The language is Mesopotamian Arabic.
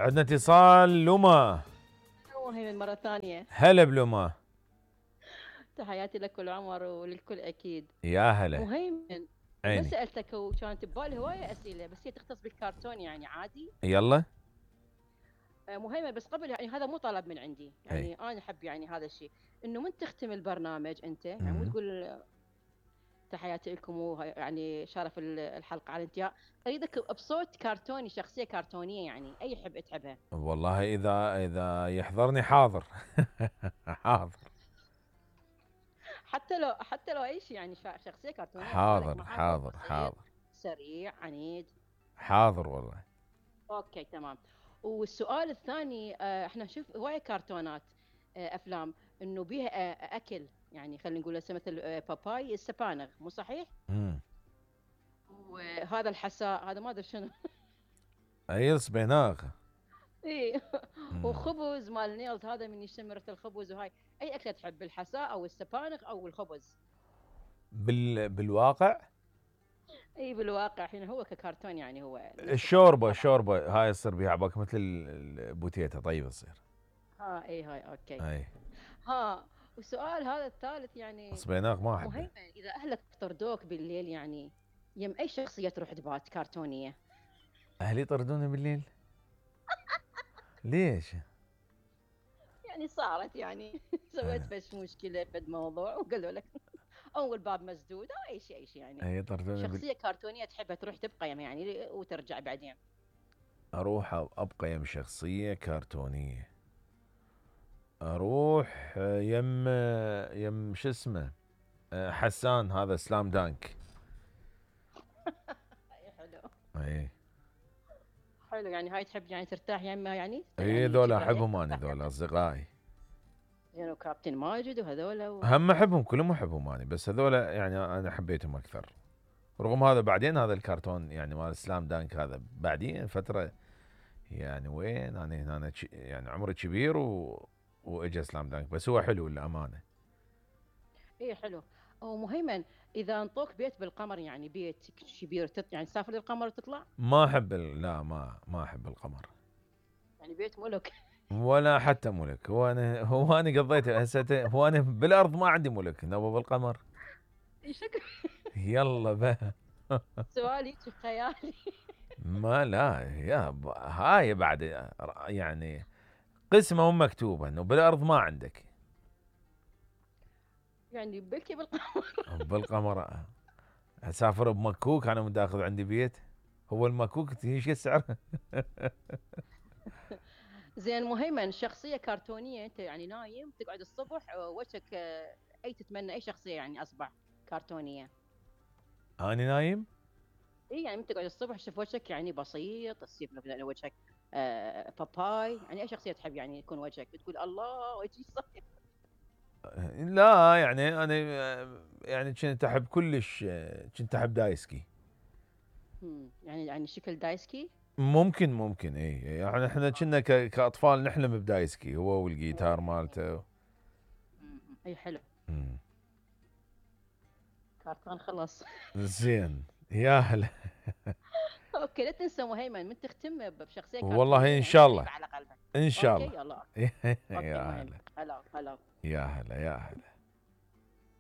عندنا اتصال لما. مهيمن مرة ثانية. هلا بلما. تحياتي لك والعمر وللكل أكيد. يا هلا. مهيمن، ما عيني. سألتك وكانت ببالي هواية أسئلة بس هي تختص بالكرتون يعني عادي. يلا. مهيمن بس قبل يعني هذا مو طلب من عندي اي. يعني أنا أحب يعني هذا الشيء إنه من تختم البرنامج أنت يعني مو مم. تقول تحياتي لكم يعني شرف الحلقة على الانتهاء. أريدك بصوت كرتوني، شخصية كرتونية يعني أي حب تحبها. والله اذا يحضرني حاضر. حاضر. حتى لو أي شيء يعني شخصية كرتونية ببالك حاضر معاه صوت حاضر قصير حاضر. سريع عنيد. حاضر والله. اوكي تمام. والسؤال الثاني احنا نشوف هواية كرتونات افلام انه بيها اكل يعني خلينا نقول هسه مثل باباي السبانغ مو صحيح؟ امم. وهذا الحساء هذا ما ادري شنو. اي صبيناغ. اي. مم. وخبز مال نيلز هذا من يشمرة الخبز وهاي. اي اكله تحب الحساء او السبانغ او الخبز؟ بالواقع اي بالواقع الحين هو ككرتون يعني هو نفس الكرتون الشوربه طبعا. الشوربه هاي تصير بيها عباك مثل البوتيتا طيبه تصير. ها اي هاي اوكي. اي. ها. والسؤال هذا الثالث يعني صبيناغ ما احبه. مهيمن، إذا أهلك طردوك بالليل يعني يم أي شخصية تروح تبات كرتونية؟ اهلي يطردوني بالليل. ليش؟ يعني صارت يعني سويت آه. فش مشكلة فد موضوع وقالوا لك أو الباب مسدود أو أي شيء يعني. اي يطردوني شخصية كرتونية تحبها تروح تبقى يعني وترجع بعدين. اروح ابقى يم شخصيه كرتونيه. اروح يم شو اسمه. حسان هذا سلام دانك. أي حلو. اي. حلو يعني هاي تحب يعني ترتاح يمها يعني اي يعني ذولا شي بريك احبهم انا ترتاح ذولا يمها. اصدقائي. يعني وكابتن ماجد وهذولا هم احبهم كلهم احبهم انا بس هذولا يعني انا حبيتهم اكثر. رغم هذا بعدين هذا الكرتون يعني مال سلام دانك هذا بعدين فتره. يعني وين انا هنا يعني عمري كبير واجا سلام دانك بس هو حلو للامانه. ايه حلو. ومهيمن، اذا انطوك بيت بالقمر يعني بيت كبير يعني تسافر للقمر وتطلع. ما احب لا ما احب القمر. يعني بيت ملك. ولا حتى ملك هو انا قضيت هسه هو انا بالارض ما عندي ملك نبى بالقمر. شكرا. يلا بقى. سؤالي خيالي. ما لا هاي بعد يعني قسمه مكتوبه انه بالارض ما عندك. يعني بلكي بالقمر. بالقمر. اسافر بمكوك انا متاخذ عندي بيت. هو المكوك ايش سعره؟ زين مهيمن، شخصية كرتونية انت يعني نايم تقعد الصبح وجهك اي تتمنى اي شخصية يعني اصبح كرتونية. انا نايم. اي يعني من تقعد الصبح تشوف وجهك يعني بسيط تصير مثلا وجهك باباي يعني اي شخصية تحب يعني يكون وجهك تقول الله وجهي صاير. لا يعني انا يعني كنت احب كلش كنت احب دايسكي. يعني شكل دايسكي. ممكن اي يعني احنا كنا كاطفال نحلم بدايسكي هو والجيتار مالته. اي حلو. مم. كرتون خلص. زين. يا هلا. اوكي لا تنسى مهيمن من تختم بشخصيه والله كرتونيه ان يعني شاء الله. قريبه على قلبك. ان شاء اوكي الله. يلا. اوكي يا مهيمن هلا. هلا هلا. يا هلا.